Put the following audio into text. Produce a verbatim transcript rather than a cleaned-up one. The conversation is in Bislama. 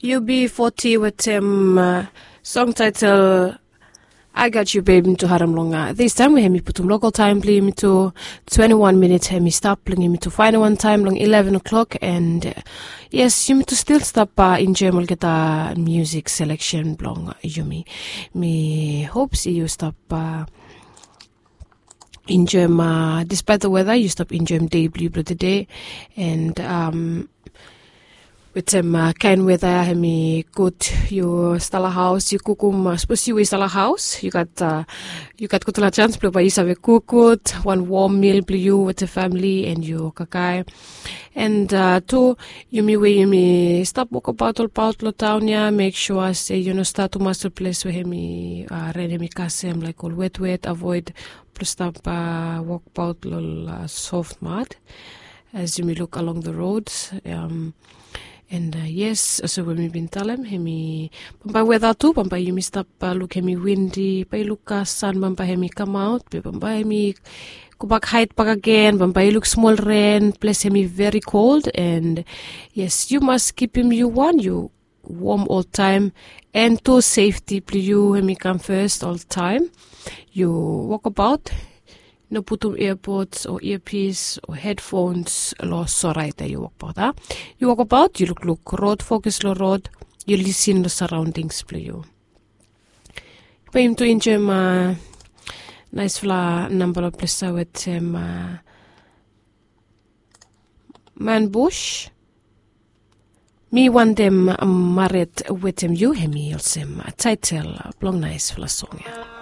U B forty wetem song title I Got You Babe mi tu harem long this time we hemi putum local time bli mi tu twenty-one minutes hemi stap bling mi tu final one time long eleven o'clock and yes, yumi tu still stap enjoy olgeta music selection blong yumi. Mi hope si yu stap enjoy ma despite the weather yu stap enjoy dei bli bli today and um, wetem kain weda hemi gud yu stala haus yu kukum sapos yu we stala haus yu gat yu gat gudfala chans blong bai yu save kuk gud wan wom mil blong yu wetem famili and yu kakae and tu yumi we yumi stap wokabaot olbaot long taon ya mek sua se yu no stat tumas long ples we hemi ren hemi kasem laik ol wetwet avoid blong stap wokbaot long soft mud as yumi luk along the roads. And yes, olsem we mi bin talem hemi bambae weda tu bambae yumi stap luk hemi windi bai luk san bambae hemi kamaot be bambae hemi gobak hait bak agen bambae i luk smol ren ples hemi veri kold and yes, yu mas kipim yu wan yu wom oltaem and tu sefti blong yu hemi kam fes oltaem. Yu wokabaot no putum earpods o earpiece o headphones long soraet ya yu wokabaot a yu wokabaot yu lukluk rod fokus long rod yu lisin long saraondings blong yu. Bae yumi tu enjoem naesfala namba long ples ya wetem man bush. Mi wantem maret wetem yu hemi olsem taetel blong naesfala song ya.